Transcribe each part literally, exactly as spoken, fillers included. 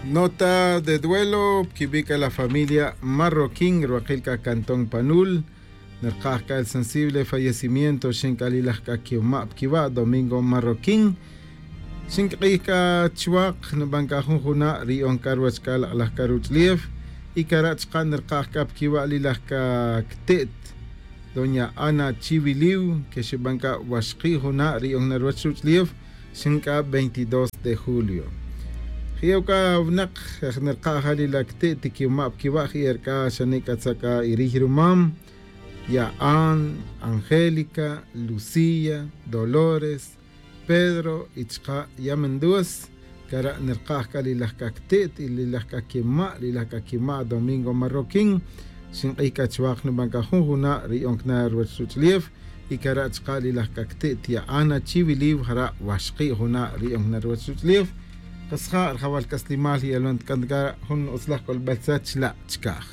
Nota de duelo pquibi' c'a la familia Marroquín rwakil c'a cantón panul. Nirkaj c'a el sensible fallecimiento xin c'a li laj c'a quima' pquiwa' Domingo Marroquín. Xink'ij c'a chuwak nuban c'a jun juna' riyon c'a ruwech c'a lak'laj c'a ruch'ulef. Y cara' chuka' nirkaj c'a pquiwa' li laj c'a cte't doña Ana Chiwiliw que xuban c'a waxki' juna' riyon na ruwech ruch'ulef. Xin c'a veintidós de julio. Ji'ew c'a winak nirka' ja li la cte't quima' pquiwa' ji'er c'a xane' c'a tza' c'a iriy rumam. Ya'an, Angélica, Lucía, Dolores, Pedro y chuka' yamindues. Cara' nirkaj c'a li laj c'a cte't y li laj c'a quima' li laj c'a quima' Domingo Marroquín. Xink'ij c'a chuwak nuban c'a jun juna' riyon cana ruwech ruch'ulef. Y cara' chuka' li laj c'a cte't ya'an achiwiliw jara' waxki' juna' riyon cana ruwech ruch'ulef. Kasja' rajawal c'aslimal y alwan tic'an c'a jun utzlaj c'olbel tzet chila' chicaj.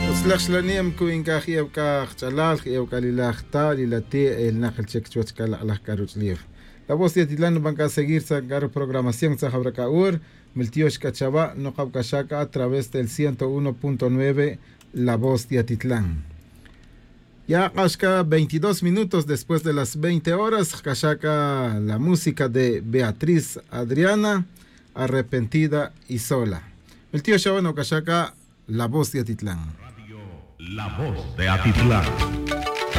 Utzlaj xlanem cu'in c'a ji'ew c'a kach'alal ji'ew c'a li laj ta li la ti' elnak el chic chuwech c'a lak'laj c'a ruch'ulef. La voz de atitlan nuban c'a seguir sa' c'a ruprogramación tza jawra c'a hor. Miltiox c'a chawa' nukaw c'a xa c'a a través del ciento uno punto nueve. La voz de atitlan. Ya k'ax c'a veintidós minutos después de las veinte horas c'a xa c'a la música de beatriz adriana, arrepentida y sola. Miltiox chawa' nukaw c'a xa c'a la voz de atitlan. La voz de atitlan.